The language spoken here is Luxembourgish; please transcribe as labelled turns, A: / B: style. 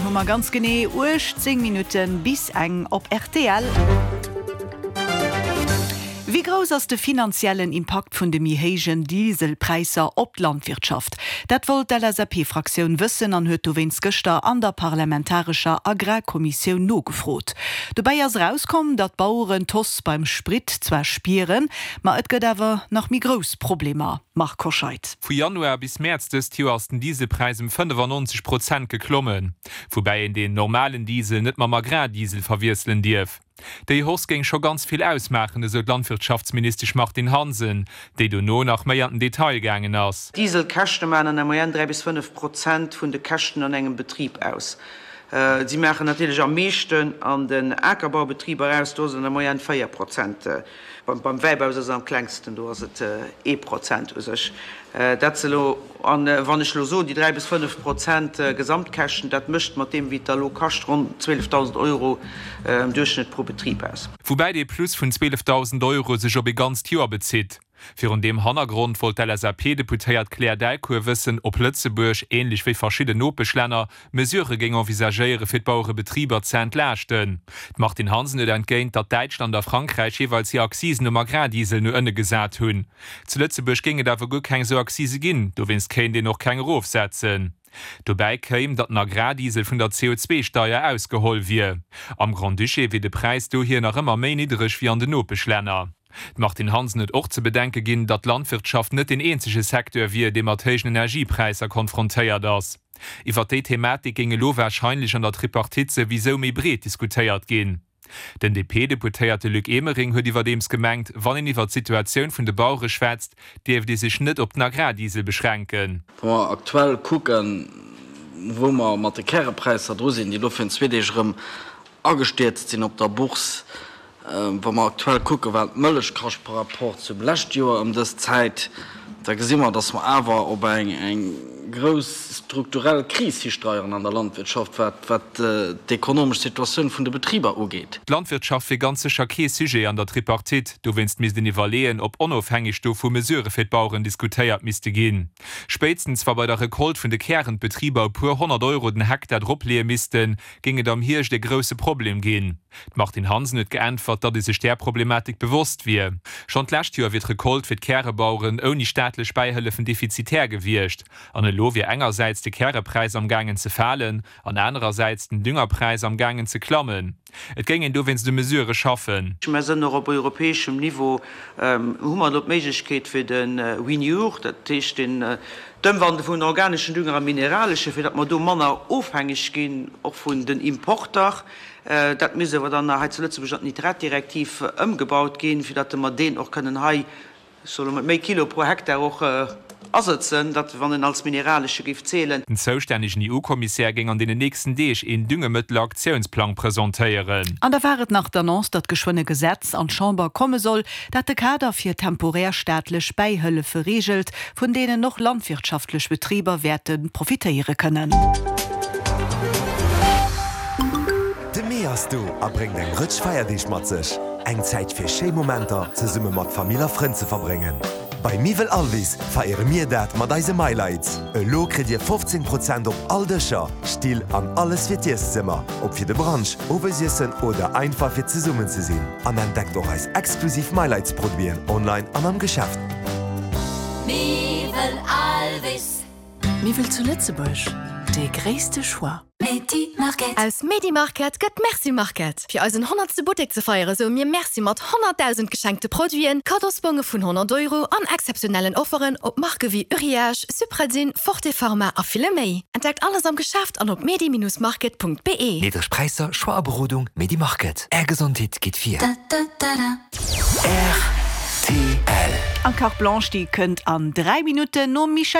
A: hu mer ganz genee 18 Minutte bis eng op rtl. Wéi grouss ass de finanziellen Impakt vun de méi héijen Dieselpräisser op d'Landwirtschaft? Dat wollt d'LSAP-Fraktioun wëssen an huet dowéinst gëschter an der parlamentarescher Agrarkommissioun nogefrot. Dobäi ass erauskomm, datt d'Baueren d'Hausse beim Sprit zwar spieren, ma et gëtt awer nach méi grouss Problemer. Marc Hoscheid.
B: Vu Januar bis Mäerz dëst Joer ass den Dieselpräis ëm 95 Prozent geklommen, woubäi een deen normalen Diesel net mam Agrardiesel verwiesselen dierf. Déi Hausse géing scho ganz vill ausmaachen, esou d'Landwirtschaftsministesch Martine Hansen, déi dono nach méi an den Detail gaangen ass.
C: D'Dieselkäschte maachen an der Moyenne 3 bis 5 Prozent vun de Käschten an engem Betrib aus. Si maachen natierlech am meeschten an den Akerbaubetriber aus, do ass et an der Moyenne 4 Prozent. Beim Wäibau ass et am klengsten, do ass et ee Prozent u sech. Dat se elo, an wann ech elo soen, déi 3 bis 5 Prozent Gesamtkäschten, dat mécht mat deem, wéi et da elo kascht, ronn 12.000 Euro am Duerchschnëtt pro Betrib aus.
B: Woubäi dee Plus vun 12.000 Euro sech op ee ganzt Joer bezitt. Virun deem Hannergrond wollt d'LSAP-Deputéiert Claire Delcourt wëssen, ob Lëtzebuerg, änlech wéi verschidden Nopeschlänner, Mesurë géing envisagéiere fir d'Bauerebetriber ze entlaaschten. D'Martine Hansen huet entgéint, datt Däitschland a Frankräich jeeweils hir Accisen um Agrardiesel no ënne gesat hunn. Zu Lëtzebuerg géing et awer guer keng esou Accise ginn, dowéinst kéint een och keng erofsetzen. Dobäi kéim, datt den Agrardiesel vun der CO2-Steier ausgeholl wier. Am Grand-Duché wier de Präis dohier nach ëmmer méi niddereg wéi an den Nopeschlänner. D'Martine Hansen huet och ze bedenke ginn, datt d'Landwirtschaft net deen eenzege Secteur wier, dee mat héijen Energiepräisser konfrontéiert ass. Iwwer déi Thematik géing elo warscheinlech an der Tripartite souwisou méi breet diskutéiert ginn. Den DP-Deputéierte Luc Emering huet iwwerdeems gemengt, wann een iwwer d'Situatioun vun de Bauere schwätzt, dierft ee sech net op den Agrardiesel beschränken.
D: Wa mer aktuell kucken, wou mer mat de Kärepräisser dru sinn, déi elo virun zwee Deeg erëm agestierzt sinn op der Bourse, Wa mer aktuell kucken, wat d'Mëllech kascht par rapport zum lescht Joer ëm dës Zäit, da gesi mer, dass mer awer op eng grouss strukturell Kris histeieren an der Landwirtschaft, wat d'ekonomesch Situatioun vun de Betriber ugeet.
B: D'Landwirtschaft wier ganz sécher kee Sujet an der Tripartite. Dowéinst misst een iwwerleeën, ob onofhängeg dovu Mesurë fir d'Baueren diskutéiert misste ginn. Spéitstens wa bei der Recolte vun de Kären d'Betriber e puer 100 Euro den Hektar dropleeë missten, géing et am Hierscht e grousse Problem ginn. D'Martine Hansen huet geäntwert, datt ee sech där Problematik bewosst wier. Schonn d'lescht Joer wier d'Recolte fir d'Kärebaueren ouni staatlech Bäihëllefen defizitär gewiescht. An elo wier engersäits de Kärepräis am gaangen ze falen an anerersäits den Düngerpräis am gaangen ze klammen. Et géing een dowéinst u Mesurë schaffen.
C: Mer sënn och op europäeschem Niveau, hu mer elo d'Méiglechkeet fir de Renure, dat heescht den d'Ëmwandele vun organeschen Dünger a mineralesche, fir datt mer do manner ofhängeg ginn och vun den Importer. Dat misst awer dann hei zu Lëtzebuerg an d'Nitratdirektiv ëmgebaut ginn, fir datt mer deen och kënnen hei, ech soe lo mat méi Kilo pro Hektar och asëtzen, datt wann en als mineralesche géif zählen.
B: Den zoustännegen EU-Kommissär géing an deenen nächsten Deeg een Düngemëttelaktiounsplang presentéieren.
A: An da war et nach d'Annonce, datt geschwënn e Gesetz an d'Chamber komme soll, dat de Kader fir temporär staatlech Bäihëllefe reegelt, vun deenen och landwirtschaftlech Betriber wäerte profitéiere kënnen.
E: De Mee ass do a bréngt eng Rëtsch Feierdeeg mat sech. Eng Zäit fir schéi Momenter zesumme mat Famill a Frënn ze verbréngen. Bei Miwwel Alvis feiere mir dat mat eise MyLights. Elo kritt Dir 15 Prozent op all Dëscher, Still an alles fir d'Ieszëmmer, ob fir de Brunch, Owesiessen oder einfach fir zesummen ze sinn. An entdeckt och eis exklusiv MyLights Produiten online an am Geschäft.
F: Miwwel Alvis.
G: Miwwel zu Lëtzebuerg, dee gréisste Choix.
H: Aus Medi-Market gëtt Merci Market. Fir eisen honnertste Buttek ze feiere soe mir Merci mat 100.000 geschenkte Produiten, Kaddosbonge vun 100 Euro an exzeptionellen Offeren op Marke wéi Uriage, Supradyn, Forte Pharma a ville méi. Entdeckt alles am Geschäft an op medi-market.be.
E: Niddreg Präisser, Choix a Berodung, Medi-Market. Är Gesondheet geet vir. Rtl.
A: An d'Carte Blanche, déi kënnt an 3 Minutten nom Michèle.